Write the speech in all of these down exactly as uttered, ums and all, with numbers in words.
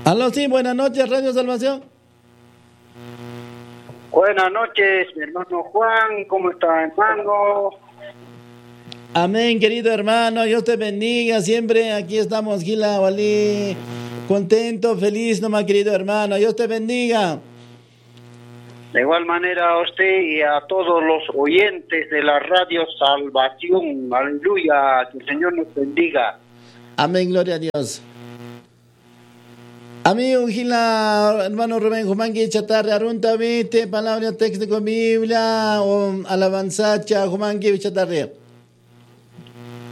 Aló, sí, buenas noches, Radio Salvación. Buenas noches, mi hermano Juan, ¿cómo está, hermano? Amén, querido hermano, Dios te bendiga, siempre aquí estamos, jila, wali, contento, feliz, nomás, querido hermano, Dios te bendiga. De igual manera a usted y a todos los oyentes de la Radio Salvación, aleluya, que el Señor nos bendiga. Amén, gloria a Dios. Amigo, jila, hermano Rubén, jumanki chatarri aruntawi, te palabra texto con Biblia, o alabanza, cha, jumanki chatarri.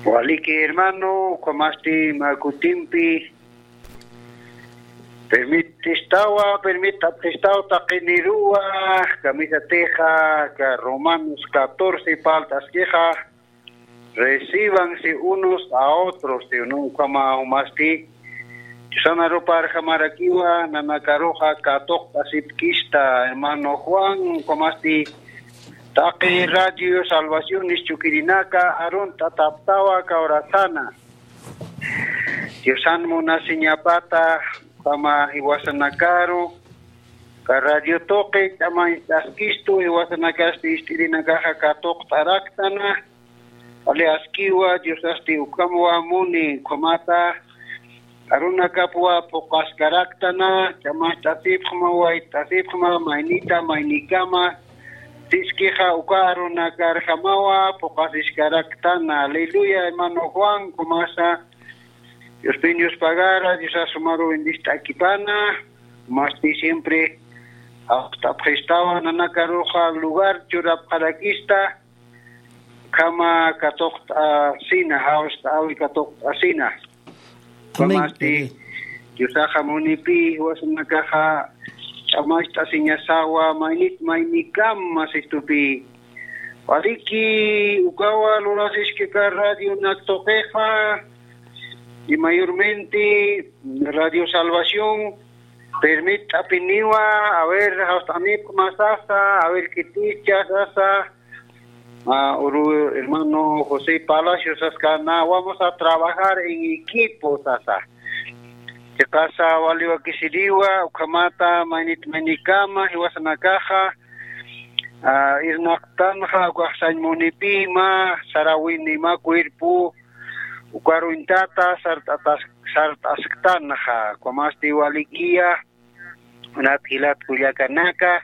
Waliki, hermano, ukamasti mä kutimpi. Permitistawa, permitapxistaw taqiniruwa, kamisatixa, ka Romanos catorce, palt'askixa. Recíbanse unos a otros, ¿sí o no? Ukama jumasti. Diosana ruparjamarakiwa, nanakaruxa katuqt'asipkista, hermano Juan, ukamasti. Taqi Radio Salvación nischukirinaka, arunt'ataptawa kawrasana. Diosan munasiñapata, ukama jiwasanakaru, ka radio tuqi, ch'amañ t'askistu, jiwasanakasti ist'irinakaxa katuqt'araktana, Wali askiwa, Diosasti ukamwa muni, ukhamata arunakapwa phuqaskaraktana, ch'amacht'asipxma, wayt'asipxma, maynita, maynikama, siskixa uka arunakarjamawa phuqasiskaraktana. Aleluya, hermano Juan, ukamasa, Diospin Dios pagara, Diosa sumaru bendist'akipana, masti siempre, apxt'apxistawa, nanakaruxa lugar churapxarakista, ukhama katuqt'asina, jawst'awi katuqt'asina. Amén. Ukhamasti, Diosaxa munipi, jiwasanakaxa ch'amacht'asiñasawa, maynit maynikama sistupi. Waliki, ukawa lurasiskika radionak tuqixa, y mayormente Radio Salvación, permit'apiniwa, a ver, jawst'anipxma sasa, a ver, kiticha sasa, Ah, uru hermano José Palacio saskana, vamos a trabajar en equipo, sasa. Chiqasa wali wakisiriwa, ukhamata, maynit maynikama, jiwasanakaxa, ah, irnaqtanxa, ukax sañ munipima, sarawinima, cuerpo, ukaruñtata, sart'atas-, sart'asktanxa, ukhamasti walikiya, Unat jilat kullakanaka,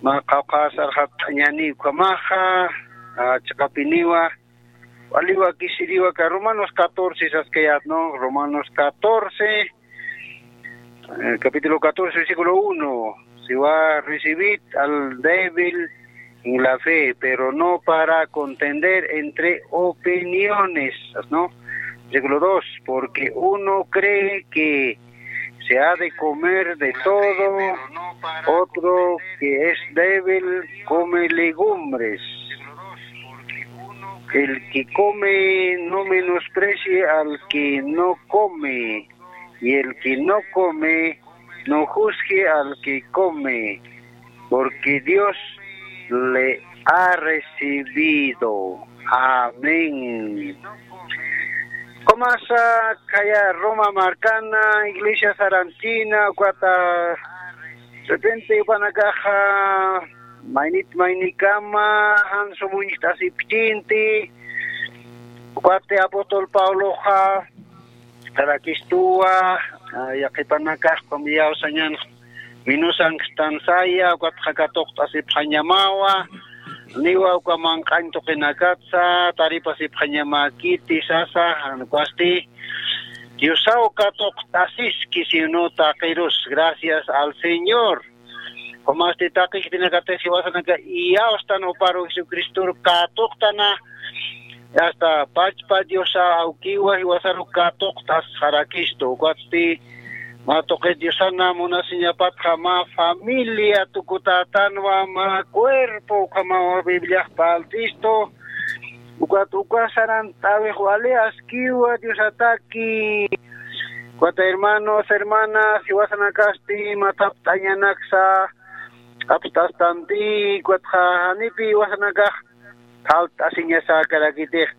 mä qawqha sarxapt'añäni ukhamaxa, ah, chiqapiniwa, wali wakisiriwa ka Romanos catorce saskayät, ¿no? Romanos catorce, eh, capítulo catorce, versículo uno. Siwa, recibid al débil en la fe, pero no para contender entre opiniones, ¿no? Versículo dos, porque uno cree que se ha de comer de todo, otro que es débil come legumbres. El que come no menosprecie al que no come, y el que no come no juzgue al que come, porque Dios le ha recibido. Amén. Ukamasa, khaya Roma markana, iglesia sarantina, ukata, repente, ukanakaxa, maynit maynikama, jan sumuñcht'asipkchinti, ukati apóstol Pabloxa, Jarakistuwa, ah, yaqhipanakax, ukham iyawsañan, minusankstansaya, ukatxa katuqt'asipxañamawa, niwa uka manq'añ tuqinakatsa, taripasipxañamäkiti sasa, jan ukasti, Diosaw katuqt'asiski, sino taqirus, gracias al Señor. Ukhamasti taqi khitinakatix jiwasanaka iyawstan juparu Jesucristoru katuqtana, hasta pachpa Diosa awkiwa jiwasaru katuqtasxarakistu. Ukatsti mä tuqi Diosana munasiñapatxa mä familia tukutätanwa, mä cuerpo, ukhamawa Bibliax parlt'istu. Ukat uka sarant'äwix wali askiwa Diosataki. Ukat hermanos, hermanas, jiwasanakasti mä thapt'añanaksa apst'astanti, ukatxa janipi jiwasanakax phalt'asiñasäkarakitix.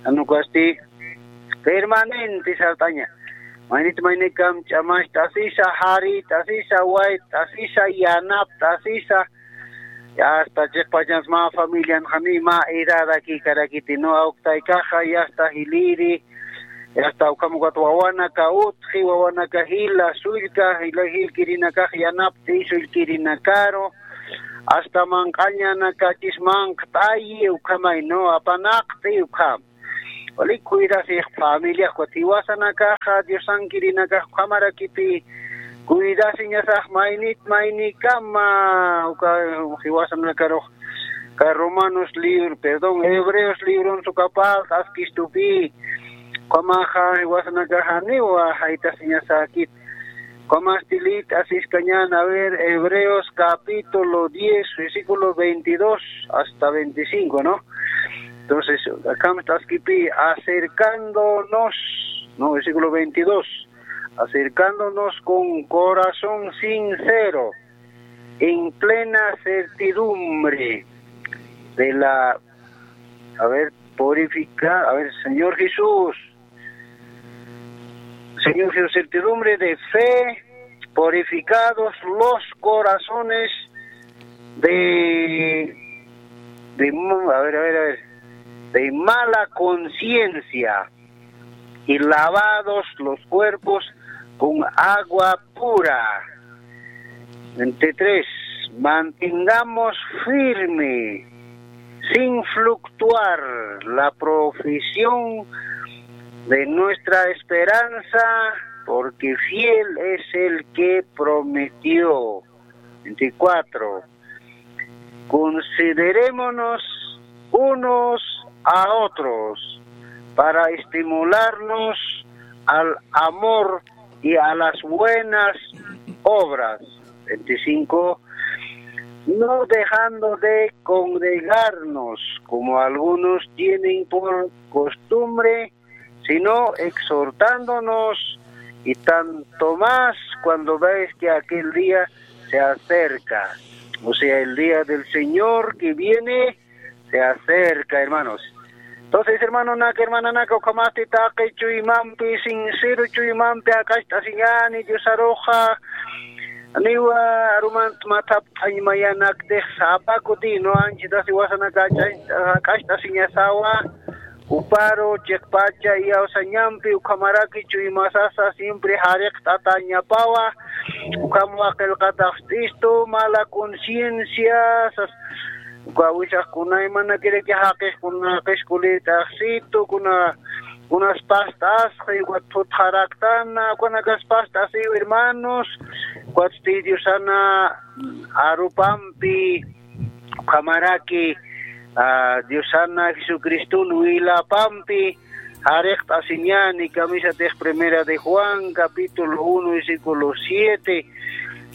Jan ukasti permanente sart'aña. Maynit maynikam ch'amacht'asisa, jarit'asisa, wayt'asisa, yanapt'asisa. Hasta chiqpachans mä familian jani mä edadakïkarakiti, ¿no? Awktaykaxa yasta jiliri, yasta ukham ukat wawanaka utji, wawanaka jila, sullka, jila jilkirinakax yanapt'i, sullkirinakaru, hasta manq'añanakachis manqt'ayi, ukhamay, ¿no? Apanaqt'i, ukham. Wali cuidasix familia, ukat jiwasanakaxa, Diosankirinakax ukhamarakipi cuidasiñasax maynit maynikama, uka jiwasanakarux, ka Romanos libro, perdón, Hebreos libron sukapal askistupi, ukhamaxa jiwasanakaxa janiwa jaytasiñasäkit. Ukhamastilit asiskañan, a ver, Hebreos capítulo diez, versículo veintidós hasta veinticinco, ¿no? Entonces, akham askipi, acercándonos, ¿no? Versículo veintidós, acercándonos con corazón sincero, en plena certidumbre de la, a ver, purifica, a ver, Señor Jesús, Señor Jesús, certidumbre de fe, purificados los corazones de, de, a ver, a ver, a ver, de mala conciencia y lavados los cuerpos con agua pura. Veintitrés, mantengamos firme, sin fluctuar, la profesión de nuestra esperanza, porque fiel es el que prometió. Veinticuatro, considerémonos unos a otros para estimularnos al amor y a las buenas obras. Veinticinco, no dejando de congregarnos como algunos tienen por costumbre, sino exhortándonos, y tanto más cuando veis que aquel día se acerca. O sea, el día del Señor que viene se acerca, hermanos. Entonces, hermanonak, hermananaka, ukhamasti taqi chuymampi, sincero chuymampi jak'acht'asiñäni Diosaruxa, niwa arumant mathapt'añ mayanaktix sapa kuti, ¿no? Anchhitasi jiwasanaka jak'acht'asiñasawa, juparu chiqpacha iyawsañampi ukhamaraki chuymasasa siempre jariqt'atañapawa, ukham qillqataxt'istu, mala conciencia, sas, uka wisaq kunaymanakiraki jaqix kuna qiskulïtaxsitu, kuna, kunas past'asxi, ukat thutxaraktana, ukanakas past'asiw hermanos, ukatsti Diosana arupampi, ukhamaraki, ah, Diosana Jesucriston wilapampi, jariqt'asiñäni, kamisatix Primera de Juan, capítulo uno, versículo siete,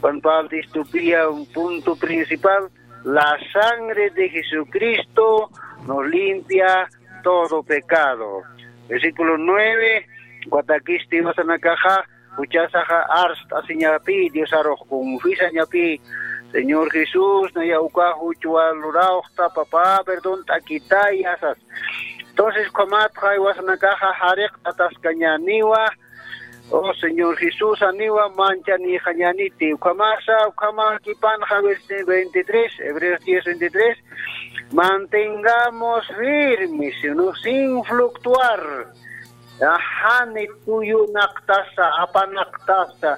Juan Pablo Distupiya, un punto principal, la sangre de Jesucristo nos limpia todo pecado. Versículo nueve, ukatakis jiwasanakaxa, juchasaxa arst'asiñapï, Diosarux confesañapï, Señor Jesús, naya uka juchwa lurawxta, papá, perdont'akitaya, sas. Entonces, ukhamatxa jiwasanakaxa jariqt'ataskañäniwa, oh Señor Jesús, janiwa manchanïxañäniti, ukhamasa, ukhama kipanxa, versículo veintitrés, Hebreos diez veintitrés, mantengamos firmes, ¿no? Sin fluctuar, jani tuyunaqtasa, apanaqtasa,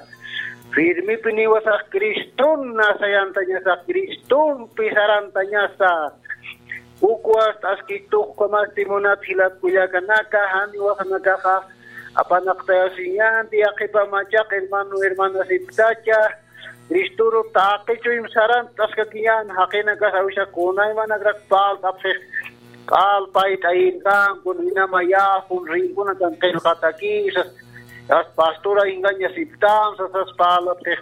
firmipiniwasax Cristona sayantañasa, Cristompi sarantañasa, ukwas t'askituqkamasti munat jilat kullakanaka, jani jiwasanakaxa apanaqtayasiñänti, yaqhipa machaq hermano, hermana siptacha, Cristoru taqi chuym sarantaskakiñän, jaqinakas awisaq kunaymanakrak parlt'apxix, q'alpayt'ayinkan, kun inamayäxun, rinkunakan qillqatakisas, sas pastora ingaña siptan, sas, sas parlapxix.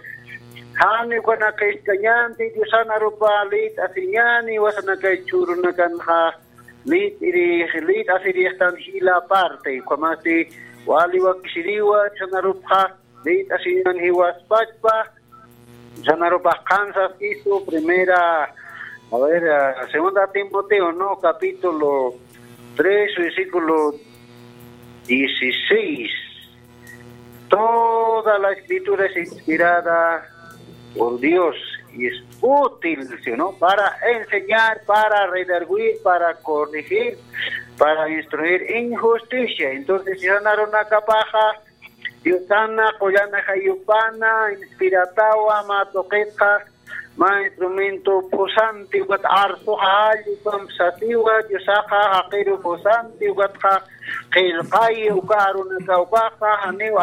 Jani ukanakïskañänti, Diosan arupa lït'asiñäni, jiwasanakay chhurunakanxa lït'irix, lït'asirixtan jila parte, ukhamasti wali wakisiriwa, Diosan arupxa lït'asiñän jiwaspachpa, Diosan arupax qhansa askistu, primera, a ver, ah, segunda Timoteo, ¿no? Capítulo tres, versículo dieciséis. Toda la escritura es inspirada por Dios y es útil, ¿sí o no? Para enseñar, para redarguir, para corregir, para instruir en justicia. Entonces, si sana runakapaxa, Diosana, qullana jayupana, inspiratawa, ma tuqitxa, ma instrumento pusanti, ukat arsuxa, llupam sasiwa, Diosaxa, jaqiru pusanti, ukatxa, qillqay, uka arunaka, ukaxa, janiw